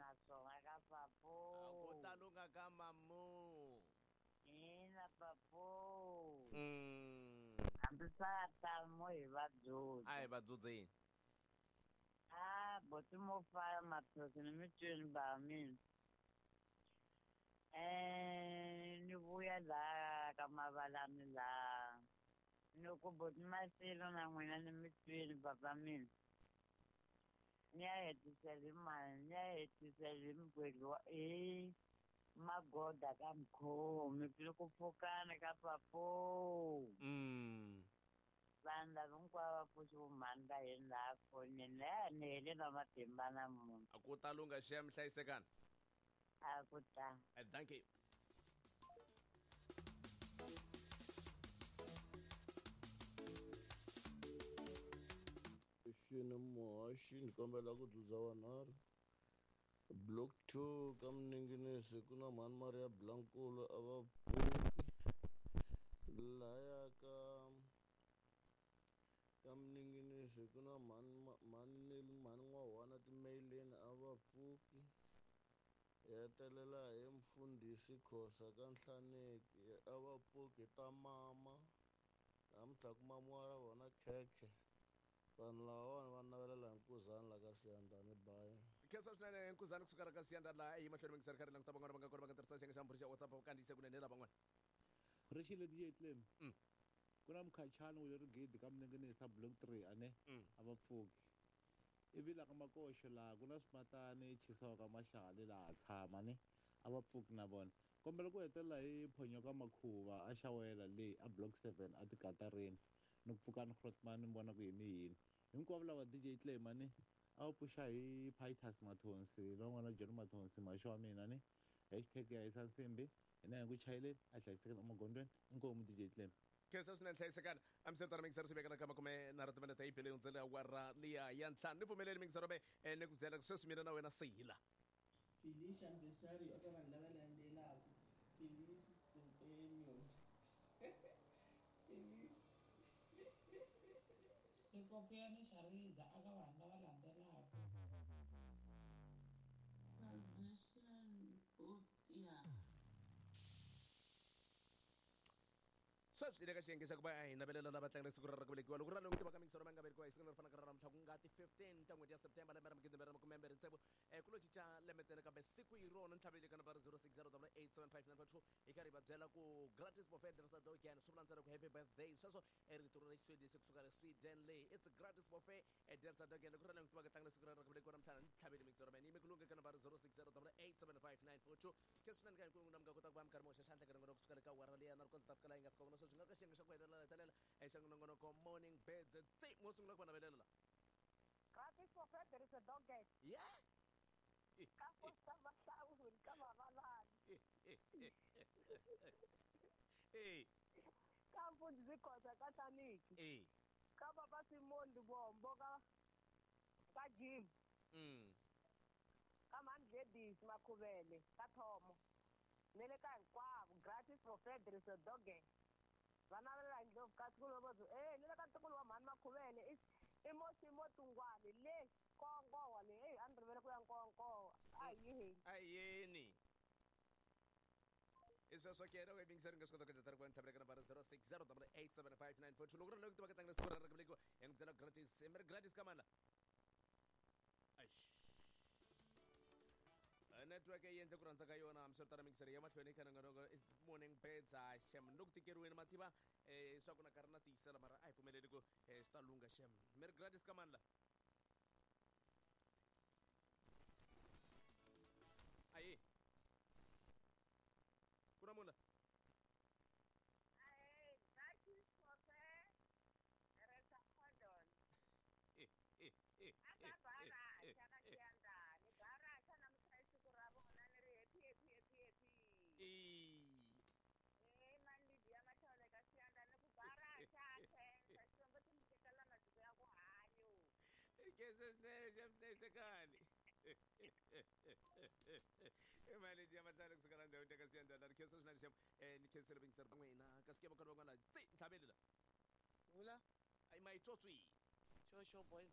na swona ka papo. A ku ta lunga ka mamu. Ina papo. Hambi swa ta mo hi va dzudza. A hi va dzudzeni. A boti mo faya maphyosi ni mi twini ba mina. Ni vuya laha ka mavalani laha. Ni ku boti Masilo na n'wina ni mi twini papa mina. Ni ya hetisela hi mani, ni ya hetisela hi mugwedli wa hi magoda ka mukhomi ni ku pfukana ka papo. Vanhu lava hinkwavo va pfuxi vumhani va yini laha fonini laha ni hele na matimba namuntlha. A ku ta lungha xem hlayisekani. A ku ta. Dankie. Xini muhaxi ni kombela ku dzudza vanharhu block 2 ka Mninginisi ku na mhani Maria Blankulu a va pfuki laya ka ka Mninginisi ku na mhani mhani Neli mhani N'wahwana timeileni a va pfuki hi hetelela hi mfundhisi Khosa ka Nhlaneki a va pfuki ta mama namuntlha ku mamiwa ra vona khekhe vanhu lavawani va navelela hi nkuzani la ka Siyandhani bayi. Khensa swinene nkuzani kusuka la ka Siyandhani laha eyi mahlweni mingiseri karhi languta van'wana va nga kona va nga tirhisa xiyenge xa mbhuri xa WhatsApp va kandziyise kunene lavan'wana. Rixile DJ Clem. Ku na mukhachani wu le rigidi ka Mninginisi block 3 ane a va pfuki. Ivi la ka Makoxo laha ku na swimatani chisiwa ka Maxale laha tshama ne a va pfuki na vona. Kombela ku hetelela hi phonyoka makhuva a xawela leyi a block 7 a tikatarini ni ku pfuka ni Grootman ni vona ku yini yini. Hinkwavo lava DJ Clem ane a va pfuxa hi Pitus Mathonsi lowun'wana John Mathonsi maxo wa mina ne hashtag ya hisa nsimbi hina hi ku chayeleni a hlayisekeni emagondzweni inkomu DJ Clem. Khensa swinene hlayisekani a mi swi mingisero swi vekela ka makume nharhu timinete yi bile hundzele awara liya ya ntlhanu ni pfumeleli mingisero me ni ku byela sweswi mina na wena seyila. Felicia Mbesario eka vanhu lava landzelaka Felice Stempenio Felice Rikopiyani Shariza aka vanhu lava landzelaka Salvation Bopia. Sweswi hi le ka xiyenge xa ku va hi navelela lava tlangela siku ra ku velekiwa loko ri ra lowu tivaka mingisero ma nga velekiwa hi siku leri fanaka ra namuntlha ku nga ti 15 ta n'hweti ya September lembe ra magidi mbirhi na makume mbirhi tsevu ku lo cinca lembe ntsena kambe siku hi rona ntlhaveli ka nambara 06087592 hi karhi hi va byela ku gratis buffet dogan swi vula ntsena ku happy birthday sweswo rito ra Xiswedisi kusuka le Sweden leyi it's gratis buffet dogan loko ri ra lowu tivaka tlangela siku ra ku velekiwa namuntlha ntlhaveli mingisero mene yime ku lunghe ka nambara 06087592 khe swinene ka hinkwenu mi nga kota ku va mi karhi mi hoxa xandla ka nongonoko kusuka le ka awara liya na ri kondza ta fika laha yi nga fika kona sweswi nga ka xiyenge xa ku hetelela hetelela xa nongonoko morning birds tsi mo sungula ku va navelela la. Gratis for Frederick Doggett. Yeah. Ka Fosta Mahlawuli ka Mavalani. Eh. Ka Mfundhisi Khosa ka Hlaniki. Eh. Ka Papa Simon Lubombo ka ka Jim. Ka Mhani Gladys Makhuvele ka Thomo. Ne le ka hinkwavo gratis for Frederick Doggett. Va navelela hi ndlopfu ka siku lovo ni le ka ntukulu wa Mhani Makhuvele i Mosimo Tungwani le Nkonkowa le a ni rivele ku ya Nkonkowa a hi yeni. A hi yeni. I sweswo ke loko hi yingiseri nga swi kota ku endla ku ntlhavela ka nambara 06087594 loko ri loko tiva ka tlangela siku ra ku velekiwa hi n'wi byela gratis mi ri gratis ka mani la. Eish. Network yi endle ku rhandza ka yona hambiswiritano mingiseri ya mahlweni ka nongonoko is morning birds a xem ni le ku tikeriweni mativa swa ku na karhi na tiyisela mara a hi pfumeleli ku swi ta lungha xem mi ri gratis ka mani la. Ayi ku na munhu la. Gratis for Resa Cordon. Aka Baracha ka Xiyandani. Baracha namuntlha i siku ra vona ni ri happy happy happy happy. Mani Lydia Mathole ka Xiyandani ku Baracha khensa Xikwembu xi mi tekela masiku ya ku hanyo. Khensa swinene xa mhlayisekani. I mali Lydia Mathole kusuka la ndhawini ka Xiyandani ni khensa swinene xem ni khensile vingiseri va n'wina kasi ke va kona van'wana tsi ntlhaveli la. Vula. Ai mayitswotswi. Sure, sure, boys.